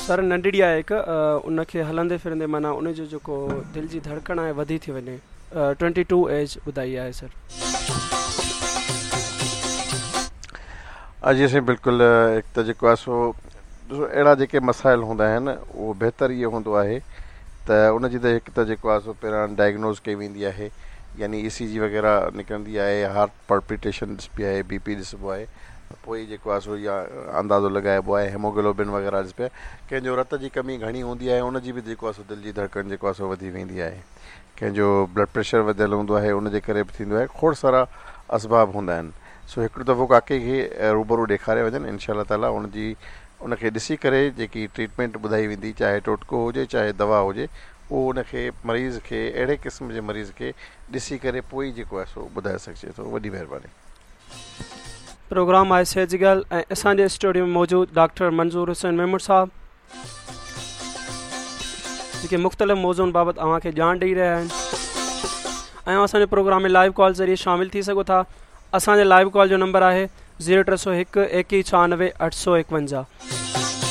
سر ننڍڙي آهي هڪ ان کي هلندي ڦرندي معنيٰ ان جو جيڪو دل جي ڌڙڪڻ آهي وڌي ٿي وڃي ٽوئنٽي ٽو ايج ٻڌائي آهي سر. جي سائين بلڪل هڪ ته جيڪو آهي سو ڏسو اهڙا جيڪي مسائل هوندا آهن اهو بهتر اهو هوندو آهي ته ان جي ته هڪ ته جيڪو آهي سو پهريان ڊائگنوز ڪئي ويندي آهي يعني اي سي جي وغيره نڪرندي آهي هارٽ پلپيٽيشن ڏسبي آهي بي پي ڏسبو آهي ته پوء ئي جيڪو آهي سو يا اندازو لڳائبو آهي هيموگلوبن وغيره ڏسبي آهي ڪنهن جو رت جي ڪمي گهڻي هوندي آهي ان جي به جيڪو آهي سو دل جي ڌڙڪن جيڪو آهي سو وڌي ويندي آهي ڪنهن جو بلڊ پريشر وڌيل هوندو آهي ان جي ڪري به ٿيندو آهي کوڙ سارا اسباب هوندا آهن سو هڪڙو دفعو ڪاڪي کي روبرو ڏيکاري وڃن انشاء الله تعالي ان جي ان کي ڏسي ڪري جيڪي ٽريٽمينٽ ٻڌائي ويندي چاهي ٽوٽڪو هجي چاهي دوا هجي اهو ان کي مريض کي اهڙي قسم جي مريض کي ڏسي ڪري پوء ئي جيڪو آهي سو ٻڌائي سگهجي ٿو وڏي مهرباني. پروگرام آهي صحت جي ڳالهه ۽ اسان جي اسٽوڊيو ۾ موجود ڊاڪٽر منظور حسين ميمڻ صاحب جيڪي مختلف موضوعن بابت اوهان کي ڄاڻ ڏئي رهيا آهن ۽ اسان جي پروگرام ۾ لائيو ڪال ذريعي شامل ٿي سگهو ٿا اسان جي لائيو ڪال جو نمبر آهي 0301 2196 851.